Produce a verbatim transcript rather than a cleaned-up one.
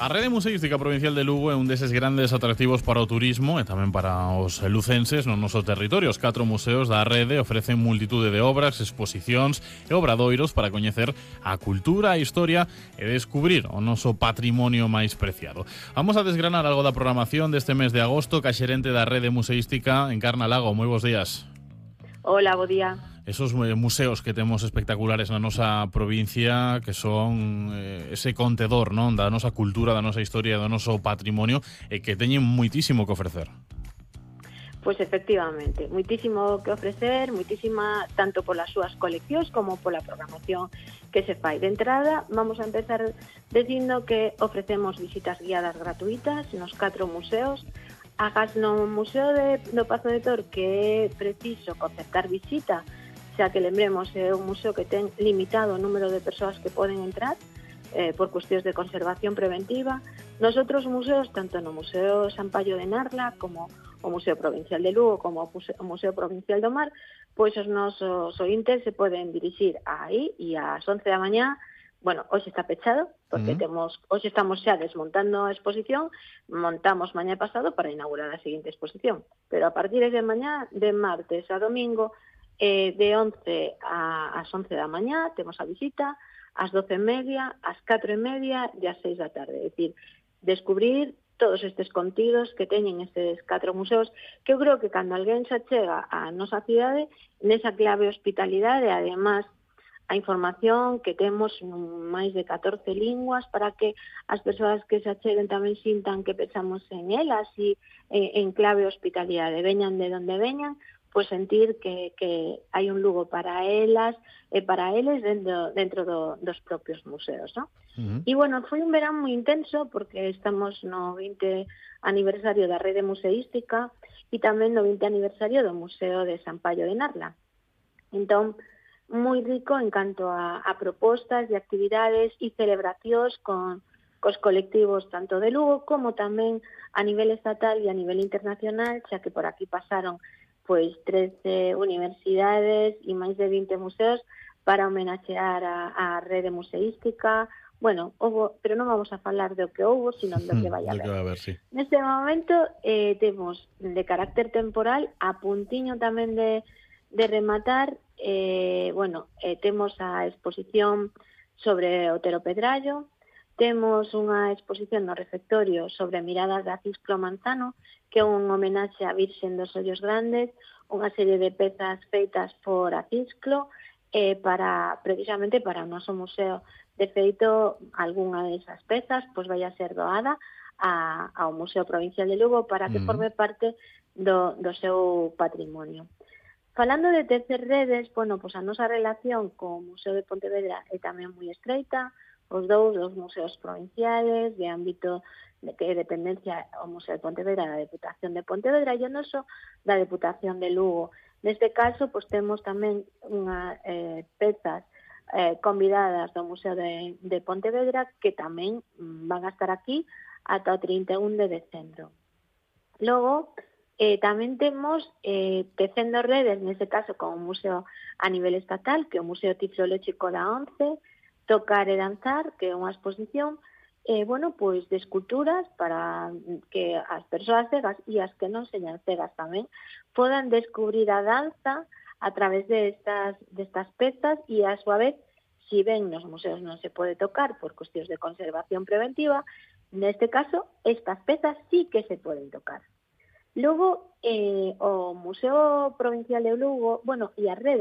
A Rede Museística Provincial de Lugo é un deses grandes atractivos para o turismo e tamén para os lucenses no noso territorio. Os catro museos da rede ofrecen multitude de obras, exposicións e obradoiros para coñecer a cultura, a historia e descubrir o noso patrimonio máis preciado. Vamos a desgranar algo da programación deste mes de agosto ca xerente da Rede Museística, Encarna Lago. Moi bons días. Hola, bo día. Esos museos que temos espectaculares na nosa provincia, que son eh, ese contedor, non, da nosa cultura, da nosa historia, do noso patrimonio, e que teñen moitísimo que ofrecer. Pois efectivamente, moitísimo que ofrecer, moitísima tanto polas súas coleccións como pola programación que se fai. De entrada, vamos a empezar dicindo que ofrecemos visitas guiadas gratuitas nos catro museos. Agas no Museo de, do Pazo de Tor, que é preciso concertar visita, xa que lembremos é un museo que ten limitado o número de persoas que poden entrar eh, por cuestións de conservación preventiva. Nos outros museos, tanto no Museo San Paio de Narla como o Museo Provincial de Lugo como o Museo Provincial do Mar, pois os nosos ointes se poden dirixir aí e ás once da mañá. Bueno, hoxe está pechado, porque uh-huh. temos hoxe estamos xa desmontando a exposición, montamos mañá pasado para inaugurar a seguinte exposición, pero a partir de mañá, de martes a domingo, eh, de once ás once da mañá, temos a visita, ás doce e media, ás catro e media e ás seis da tarde. É dicir, descubrir todos estes contidos que teñen estes catro museos, que eu creo que cando alguén xa chega á nosa cidade, nesa clave hospitalidade, además, a información que temos en máis de catorce linguas para que as persoas que se acheguen tamén sintan que pensamos en elas e en, en clave hospitalidade, veñan de donde veñan, pois sentir que, que hai un Lugo para elas e para eles dentro, dentro do, dos propios museos, ¿no? Uh-huh. E, bueno, foi un verán moi intenso porque estamos no vinte aniversario da Rede Museística e tamén no vinte aniversario do Museo de San Paio de Narla. Entón, moi rico en canto a, a propostas de actividades e celebracións con cos colectivos tanto de Lugo como tamén a nivel estatal e a nivel internacional, xa que por aquí pasaron pois trece universidades e máis de vinte museos para homenaxear a, a Rede Museística. Bueno, houbo, pero non vamos a falar do que houbo, sino do que vai a haber. Que vai haber, sí. Neste momento eh, temos de carácter temporal, a puntiño tamén de, de rematar, eh, bueno, eh, temos a exposición sobre Otero Pedrallo, temos unha exposición no refectorio sobre miradas da Cisclo Manzano, que é un homenaxe á Virxen dos Ollos Grandes, unha serie de pezas feitas por a Cisclo, eh, para, precisamente para o noso museo. De feito, algunha desas pezas pois vai a ser doada a, ao Museo Provincial de Lugo para que mm. forme parte do, do seu patrimonio. Falando de tercer redes, bueno, pois a nosa relación co Museo de Pontevedra é tamén moi estreita. Os dous, os museos provinciales, de ámbito de que é dependencia o Museo de Pontevedra da Deputación de Pontevedra e o noso da Deputación de Lugo. Neste caso, pois temos tamén unha eh, pezas eh, convidadas do Museo de, de Pontevedra que tamén mm, van a estar aquí ata o trinta e un de decembro. Logo, eh, tamén temos eh, tecendo redes, neste caso con o museo a nivel estatal, que é o Museo Tiflolóxico da once, Tocar e danzar, que é unha exposición eh, bueno, pois de esculturas para que as persoas cegas e as que non señan cegas tamén podan descubrir a danza a través de estas, de estas pezas e a súa vez, si ben nos museos non se pode tocar por cuestións de conservación preventiva, neste caso estas pezas sí que se poden tocar. Logo, eh, o Museo Provincial de Lugo, bueno, e a Rede